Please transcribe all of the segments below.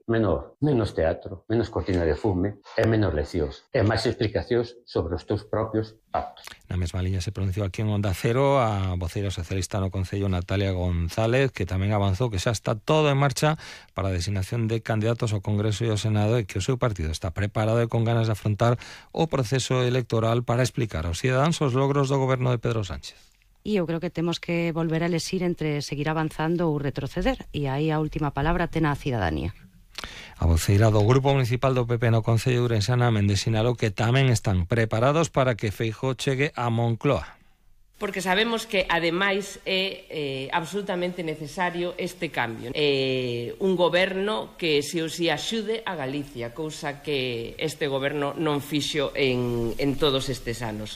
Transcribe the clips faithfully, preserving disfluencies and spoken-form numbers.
menor, menos teatro, menos cortina de fume e menos leccións e máis explicacións sobre os teus propios actos. Na mesma liña se pronunciou aquí en Onda Cero a voceira socialista no Concello, Natalia González, que tamén avanzou que xa está todo en marcha para a designación de candidatos ao Congreso e ao Senado e que o seu partido está preparado e con ganas de afrontar o proceso electoral para explicar aos cidadáns os logros do goberno de Pedro Sánchez. E eu creo que temos que volver a elegir entre seguir avanzando ou retroceder, e aí a última palabra ten a cidadanía. A voceira do Grupo Municipal do P P no Concello de Ourense, Ana Méndez, sinalou que tamén están preparados para que Feijóo chegue a Moncloa. Porque sabemos que, ademais, é eh, absolutamente necesario este cambio. Eh, un goberno que se os axude a Galicia, cousa que este goberno non fixo en, en todos estes anos.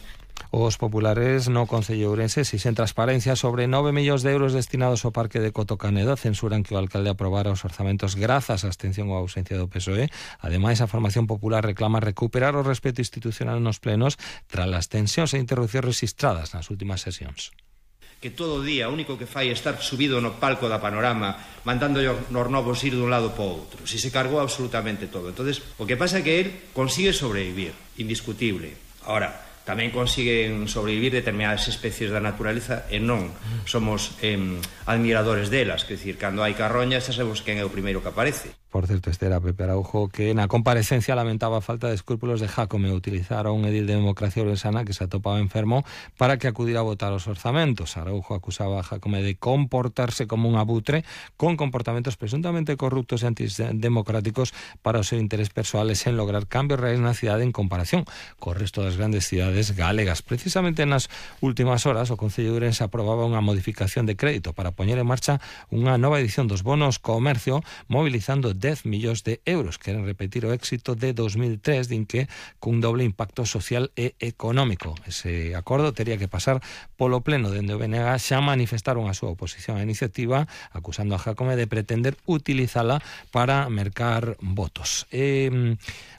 Os populares no Concello de Ourense exixen transparencia sobre nove millóns de euros destinados ao Parque de Coto Canedo. Censuran que o alcalde aprobara os orzamentos grazas á abstención ou ausencia do P S O E. Ademais, a formación popular reclama recuperar o respeto institucional nos plenos tras as tensións e interrupcións registradas nas últimas sesións. Que todo o día o único que fai é estar subido no palco da Panorama mandando os novos ir dun lado para o outro. Si se cargou absolutamente todo. Entonces, o que pasa é que ele consigue sobrevivir, indiscutible. Ahora, tamén consiguen sobrevivir determinadas especies da naturaleza e non somos eh, admiradores delas, que decir, cando hai carroñas xa sabemos quen é o primeiro que aparece. Por certo, este era Pepe Araujo, que na comparecencia lamentaba a falta de escrúpulos de Jácome utilizar a un edil de Democracia Ourensana que se atopaba enfermo para que acudiera a votar os orzamentos. Araujo acusaba a Jácome de comportarse como un abutre con comportamentos presuntamente corruptos e antidemocráticos para o seu interés persoal e sen lograr cambios reais na cidade en comparación co resto das grandes cidades galegas. Precisamente nas últimas horas o Concello de Ourense aprobaba unha modificación de crédito para poñer en marcha unha nova edición dos bonos comercio, mobilizando dez millóns de euros. Queren repetir o éxito de dos mil tres, din que cun doble impacto social e económico. Ese acordo tería que pasar polo pleno dende o B N G. Xa manifestaron a súa oposición á iniciativa, acusando a Jácome de pretender utilizala para mercar votos. E,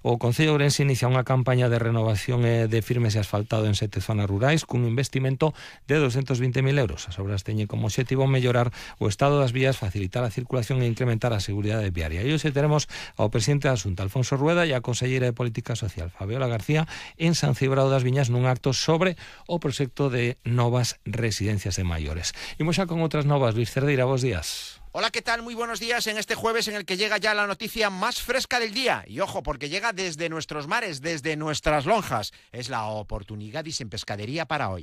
o Concello de Ourense inicia unha campaña de renovación de firmes e asfaltado en sete zonas rurais cun investimento de doscientos vinte mil euros. As obras teñen como obxectivo mellorar o estado das vías, facilitar a circulación e incrementar a seguridade viaria. E hoxe teremos ao presidente da Xunta, Alfonso Rueda, e a conselleira de Política Social, Fabiola García, en San Cibrao das Viñas nun acto sobre o proxecto de novas residencias de maiores. Imos xa con outras novas. Luis Cerdeira, bos días. Hola, ¿qué tal? Muy buenos días en este jueves en el que llega ya la noticia más fresca del día. Y ojo, porque llega desde nuestros mares, desde nuestras lonjas. Es la Oportunigadis en pescadería para hoy.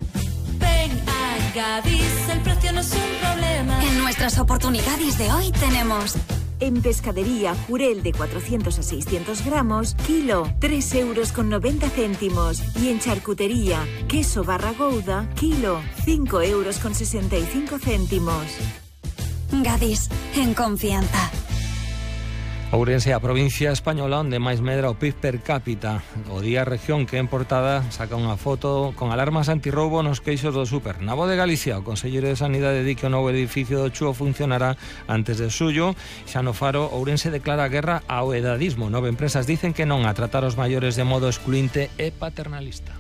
Ven a Gadis, el precio no es un problema. En nuestras Oportunigadis de hoy tenemos... En pescadería, jurel de cuatrocientos a seiscientos gramos, kilo, tres euros con noventa céntimos. Y en charcutería, queso barra gouda, kilo, cinco euros con sesenta y cinco céntimos. Gadis, en confianza. Ourense é a provincia española onde máis medra o P I B per cápita. O Día Región, que en portada saca unha foto con alarmas antirroubo nos queixos do súper. Na Voz de Galicia, o conselleiro de Sanidade di que o novo edificio do Chúo funcionará antes de xullo. Xa no Faro, Ourense declara guerra ao edadismo. Nove empresas dicen que non a tratar os maiores de modo excluinte e paternalista.